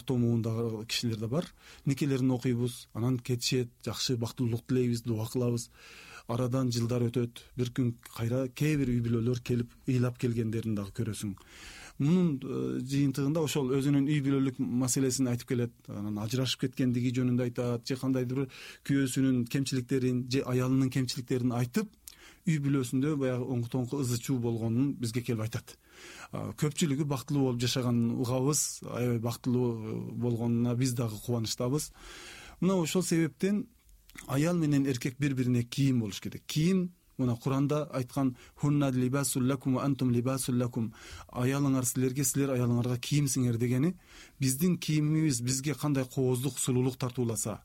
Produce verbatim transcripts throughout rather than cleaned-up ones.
тоомундагы кишилер да бар. Никелерин окуйбуз, анан кетишет, жакшы бактылуулук тилейбиз, дуа кылабыз. Арадан жылдар өтөт, бир күн кайра кээ бир үй бүлөлөр келип ыйлап келгендерин дагы көрөсүң. Мунун жыйынтыгында ошол өзүнүн үй бүлөлүк маселесин айтып келет, анан ажырашып кеткендиги жөнүндө айтат, же кандайдыр бир күйөөсүнүн кемчиликтерин, же аялынын кемчиликтерин айтып, үй бүлөсүндө баягы оңку тоңку ызы чуу болгонун бизге келип айтат. Көпчүлүгү бактылуу болуп жашаганын угабыз, аябай бактылуу болгонуна биз дагы кубанычтабыз. Мына ошол себептен аял менен эркек бири-бирине кийим болуш керек. Кийим мына Куранда айткан хунна либасул лакум ва антум либасул лакум. Аялыңар силерге, силер аялыңарга кийимсиңер дегени биздин кийимибиз бизге кандай кооздук, сулуулук тартууласа,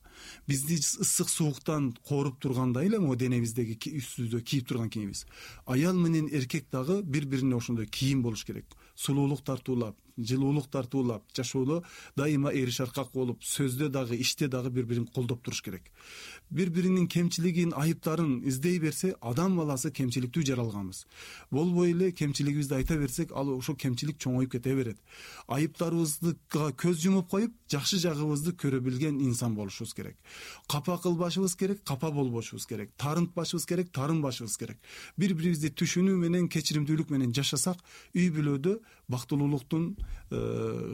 бизди ысык сууктан кооруп тургандай эле мо денебиздеги үстүбүздө кийип турган кийимибиз. Аял менен эркек дагы бири-бирине ошондой кийим болуш керек. Сулуулук тартуулап, жылуулук тартуулап, жашоодо дайыма эри шаркак болуп, сөздө дагы, иште дагы бири-бирин колдоп туруш керек. Бири-биринин кемчилигин, айыптарын издей берсе, адам баласы кемчиликтүү жаралганбыз. Болбой эле кемчилигибизди айта берсек, ал ошо кемчилик чоңоюп кете берет. Айыптарыбызга көз жумуп коюп, жакшы жагыбызды көрө билген инсан болушубуз керек. Капа кылбашыбыз керек, капа болбошубуз керек. Тарынтпашыбыз керек, тарынбашыбыз керек. Бири-бирибизди түшүнүү менен, кечиримдүүлүк менен жашасак, үй бүлөдө бактылуулуктун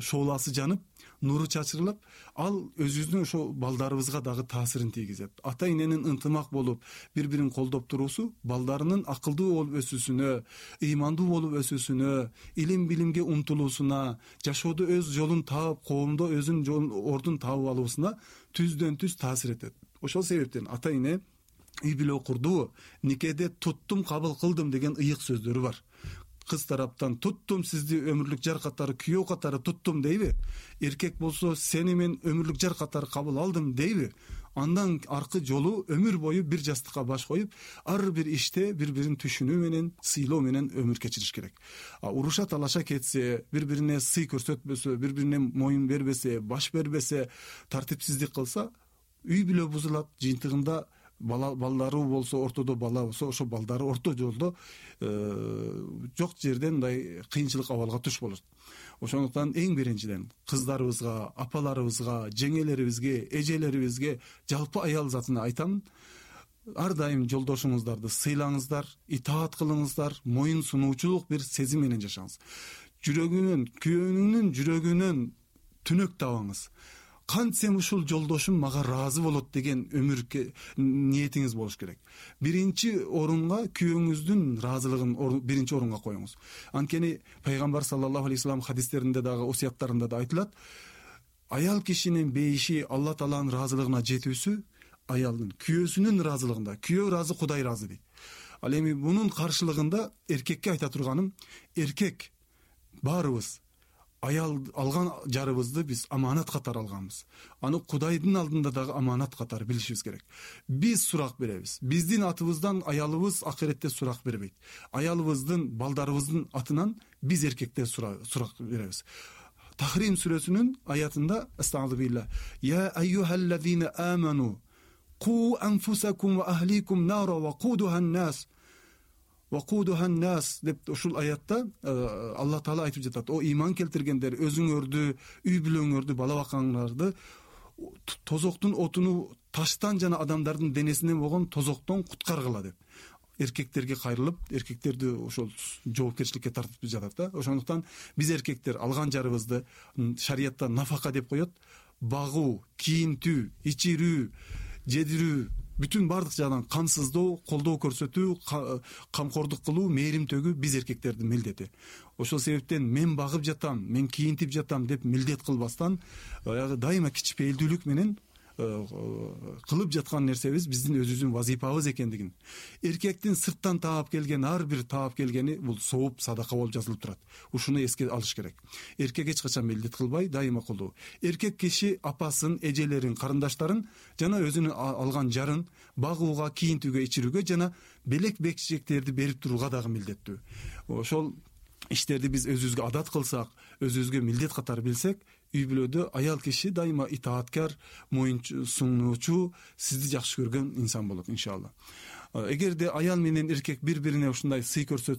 шооласы жанып, нуру чачырылып, ал өзүбүздүн ошо балдарыбызга дагы таасирин тийгизет. Ата эненин ынтымак болуп, бири-бирин колдоп туруусу балдарынын акылдуу болуп өсүүсүнө, ыймандуу болуп өсүүсүнө, илим билимге умтулуусуна, жашоодо өз жолун таап, коомдо өзүнүн жолун, ордун таап алуусуна түздөн түз таасир этет. Ошол себептен ата эне үй бүлө курдуу, никеде туттум, кабыл кылдым деген ыйык сөздөрү бар. Кыз тараптан туттум сизди өмүрлүк жар катары, күйөө катары туттум дейби? Эркек болсо сени мен өмүрлүк жар катары кабыл алдым дейби? Андан аркы жолу өмүр бою бир жастыкка баш коюп, ар бир иште бири-бирин түшүнүү менен, сыйлоо менен өмүр кечириш керек. А уруша талаша кетсе, бири-бирине сый көрсөтпөсө, бири-бирине моюн бербесе, баш бербесе, тартипсиздик кылса, үй бүлө бузулат. Жыйынтыгында бала балдары болсо, ортодо бала болсо, ошо балдары орто жолдо жок жерден мындай кыйынчылык абалга туш болот. Ошондуктан эң биринчиден кыздарыбызга, апаларыбызга, жеңелерибизге, эжелерибизге, жалпы аял затына айтам, ар дайым жолдошуңуздарды сыйлаңыздар, итаат кылыңыздар, моюн сунуучулук бир сезим менен жашаңыз. Жүрөгүнөн, күйөөнүнүн жүрөгүнөн түнөк табаңыз. Кантсем ушул жолдошум мага ыраазы болот деген өмүркө ниетиңиз болуш керек. Биринчи орунга күйөөңүздүн ыраазылыгын биринчи орунга коюңуз. Анткени пайгамбар саллаллаху алейхи вассалам хадистеринде дагы, осуяттарында да айтылат, аял кишинин бейиши, Алла Тааланын ыраазылыгына жетүүсү аялдын күйөөсүнүн ыраазылыгында. Күйөө ыраазы, Кудай ыраазы дейт. Ал эми мунун каршылыгында эркекке айта турганым, эркек баарыбыз аял алган жарыбызды биз аманат катары алганбыз. Аны Кудайдын алдында дагы аманат катары билишибиз керек. Биз сурак беребиз. Биздин атыбыздан аялыбыз акыретте сурак бербейт. Аялыбыздын, балдарыбыздын атынан биз эркектер сурак беребиз. Тахрим сүрөсүнүн аятында астагфирулла, я айюхаллазина аману ку анфусакум ва ахликум нара ва кудухан нас вакудухан нас деп ушул аятта Алла Таала айтып жатат. О ыйман келтиргендер, өзүңөрдү, үй бүлөңөрдү, бала бакаңарды тозоктун отуну таштан жана адамдардын денесинен болгон тозоктон куткаргыла деп. Эркектерге кайрылып, эркектерди ошол жоопкерчиликке тартып жатат да. Ошондуктан биз эркектер алган жарыбызды шариятта нафака деп коет. Багуу, кийинтүү, ичирүү, жедирүү, бүтүн бардык жагдан камсыздоо, колдоо көрсөтүү, камкордук кылуу, мээрим төгүү биз эркектердин милдети. Ошол себептен мен багып жатам, мен кийинтип жатам деп милдет кылбастан, баягы дайыма кичпейилдүүлүк менен кылып жаткан нерсебиз биздин өзүбүздүн вазифабыз экендигин. Эркектин сырттан таап келген ар бир таап келгени бул сооп, садака болуп жазылып турат. Ушуну эске алыш керек. Эркек эч качан милдет кылбай, дайыма колдоо. Эркек киши апасын, эжелерин, карындаштарын жана өзүнүн алган жарын багууга, кийинтүүгө, ичирүүгө жана белек бекчектерди берип турууга дагы милдеттүү. Ошол иштерди биз өзүбүзгө адат кылсак, өзүбүзгө милдет катары билсек, үй бүлөдө аял киши дайыма итааткар, моюн сунуучу, сизди жакшы көргөн инсан болот иншалла. Эгерде аял менен эркек бири-бирине ушундай сый көрсөтсө,